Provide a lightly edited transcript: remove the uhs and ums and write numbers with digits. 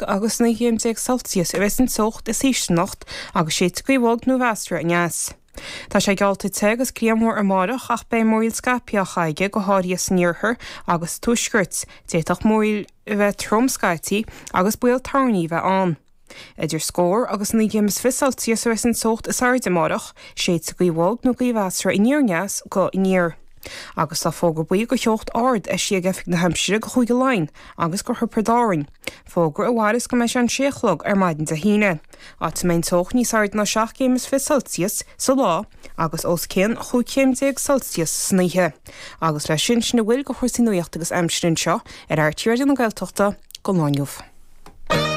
agus 19 gcéim Celsius a bheas an teocht is ísle anocht agus séidfidh gaoth bhog nó mheasartha aneas. Tá sé geallta te agus grianmhar amárach ach beidh múraíl scaipthe á chaitheamh aige, go háirithe san iarthar agus sa tuaisceart. D'fhéadfadh múraíl a bheith trom scaití agus baol toirní a bheith ann. Idir scór agus 19 gcéim is 20 Celsius a bheas an teocht is airde amárach, séidfidh gaoth bhog nó gaoth mheasartha aniar aneas go aniar. Agus tá fógra buí do theocht ard eisithe ag Oifig na hAimsire do Chúige Laighean agus do Thiobraid Árann, fógra a mhairfeas go mbeidh sé an sé a chlog ar maidin Dé hAoine, áit a mbeidh an teocht níos airde ná 7 gcéim is 20 Celsius sa lá agus os cionn 15 chéim Celsius san oíche. Agus leis sin, sin a bhfuil de chúrsaí nuachta agus aimsire anseo ar RTÉ Raidió na Gaeltachta don lá inniu.